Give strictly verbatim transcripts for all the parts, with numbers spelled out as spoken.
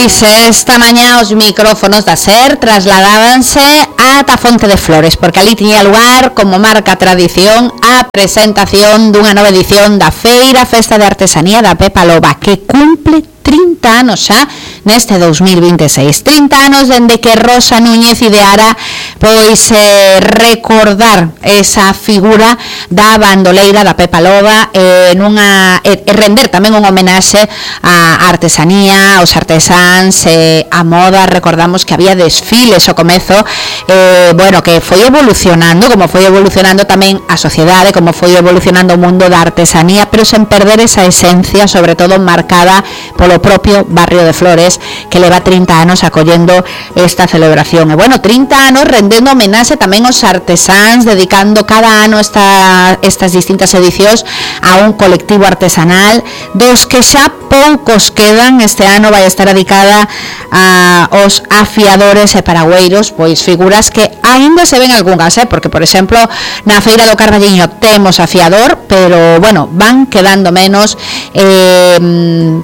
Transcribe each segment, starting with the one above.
Pois esta mañá os micrófonos da SER trasladábanse ata Fonte de Flores, porque ali tiña lugar, como marca a tradición, a presentación dunha nova edición da Feira Festa de Artesanía da Pepa Loba, que cumple trinta anos xa neste dous mil vinte e seis. trinta anos dende que Rosa Núñez ideara pois eh, recordar esa figura da bandoleira da Pepa Loba, eh, nunha, e eh, render tamén un homenaxe á artesanía, aos artesáns, eh, a moda. Recordamos que había desfiles ao comezo, eh, bueno, que foi evolucionando, como foi evolucionando tamén a sociedade, como foi evolucionando o mundo da artesanía, pero sen perder esa esencia, sobre todo marcada polo propio barrio de Flores, que leva trinta anos acollendo esta celebración. E bueno, trinta anos rendendo homenaxe tamén aos artesáns, dedicando cada ano esta, estas distintas edicións a un colectivo artesanal, dos que xa poucos quedan. Este ano vai estar dedicada a os afiadores e paragüeiros, pois figuras que aínda se ven algunhas, eh? Porque, por exemplo, na Feira do Carballiño temos afiador, pero, bueno, van quedando menos, eh,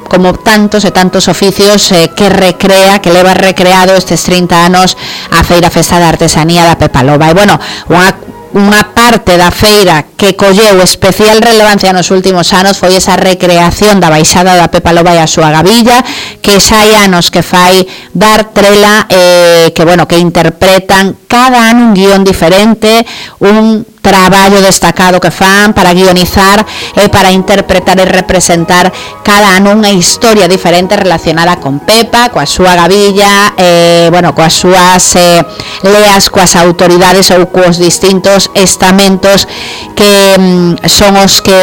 como tantos e tantos oficios eh, que recrea, que leva recreado estes trinta anos a Feira Festa da Artesanía da Pepa Loba. E, bueno, unha unha parte da feira que colleu especial relevancia nos últimos anos foi esa recreación da baixada da Pepa Loba e a súa gabilla, que xa hai anos que fai dar trela, eh, que, bueno, que interpretan cada ano un guión diferente, un traballo destacado que fan para guionizar e para interpretar e representar cada ano unha historia diferente relacionada con Pepa, coa súa gabilla, eh, bueno, coas súas eh, leas, coas autoridades ou coas distintos estamentos que mm, son os que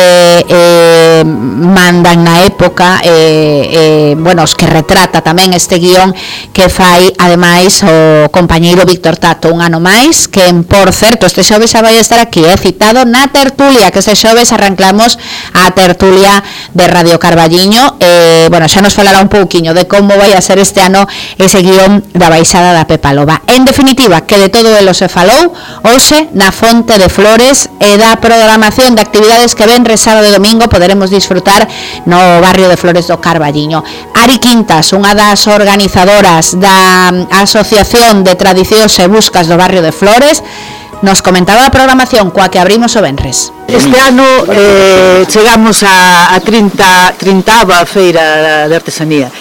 eh, mandan na época, eh, eh, bueno, os que retrata tamén este guión que fai ademais o compañeiro Víctor Tato un ano máis, que, por certo, este xoves xa vai estar aquí, eh, citado na tertulia, que este xoves arrancamos a tertulia de Radio Carballiño. Eh, bueno, xa nos falará un pouquiño de como vai a ser este ano ese guión da baixada da Pepa Loba. En definitiva, que de todo elo se falou hoxe na Fonte de Flores, e da programación de actividades que ven sábado e domingo poderemos disfrutar no barrio de Flores do Carballiño. Ari Quintas, unha das organizadoras da Asociación de Tradicións e Buscas do barrio de Flores, nos comentaba a programación coa que abrimos o venres. Este ano eh, chegamos a, a trinta, trintava feira de artesanía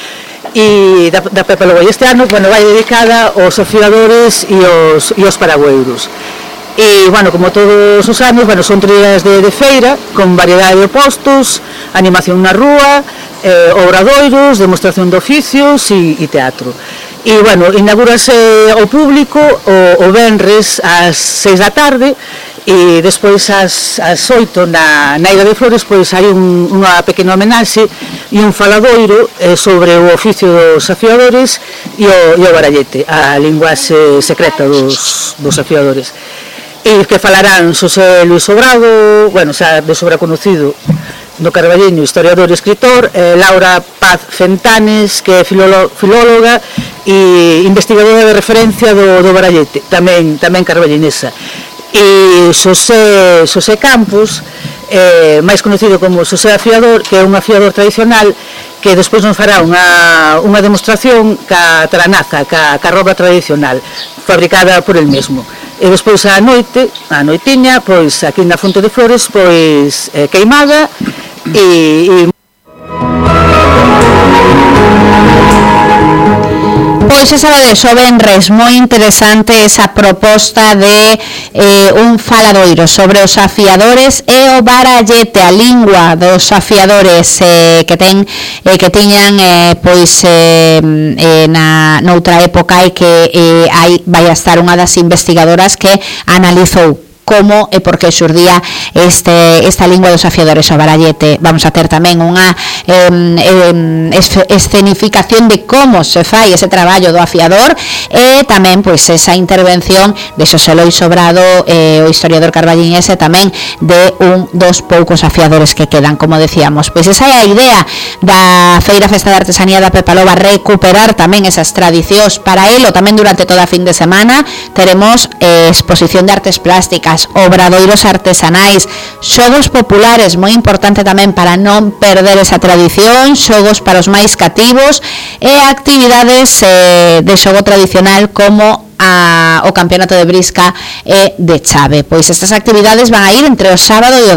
e da, da Pepa Loba. Este ano, bueno, vai dedicada aos afiadores e aos, e aos paragüeiros. E, bueno, como todos os anos, bueno, son trías de, de feira con variedade de postos, animación na rúa, eh, obradoiros, demostración de oficios e, e teatro. E, bueno, inaugurase ao público o, o venres ás seis da tarde, e despois ás, ás oito na, na Ida de Flores pois hai un, unha pequena homenaxe e un faladoiro eh, sobre o oficio dos afiadores e o, e o barallete, a linguaxe secreta dos, dos afiadores. E que falarán Xosé Luis Sobrado, bueno, xa de sobra conocido no Carballiño, historiador e escritor, eh, Laura Paz Fentanes, que é filóloga e investigadora de referencia do, do barallete, tamén, tamén carballinesa. E Xosé, Xosé Campos, eh, máis conocido como Xosé Afiador, que é un afiador tradicional, que despois nos fará unha, unha demostración ca tranaza, ca, ca roba tradicional, fabricada por el mesmo. E despois a noite, a noitiña, pois aquí na Fonte de Flores, pois eh, queimada e... e Pois esa de xovenres, moi interesante esa proposta de eh, un faladoiro sobre os afiadores e o barallete, a lingua dos afiadores eh, que ten eh, que tiñan eh, pois eh, eh, na noutra época, e que eh, hai vai a estar unha das investigadoras que analizou como e por que xurdía este, esta lingua dos afiadores ao barallete. Vamos a ter tamén unha eh, eh, escenificación de como se fai ese traballo do afiador, e tamén pois esa intervención de Xosé Luis Sobrado, eh, o historiador carballiñese, tamén de un dos poucos afiadores que quedan, como decíamos. Pois esa é a idea da Feira Festa de Artesanía da Pepa Loba, recuperar tamén esas tradicións. Para elo, tamén durante toda a fin de semana teremos eh, exposición de artes plásticas, feiras, obradoiros artesanais, xogos populares, moi importante tamén para non perder esa tradición, xogos para os máis cativos e actividades eh, de xogo tradicional como a, o campeonato de brisca e de chave. Pois estas actividades van a ir entre o sábado e o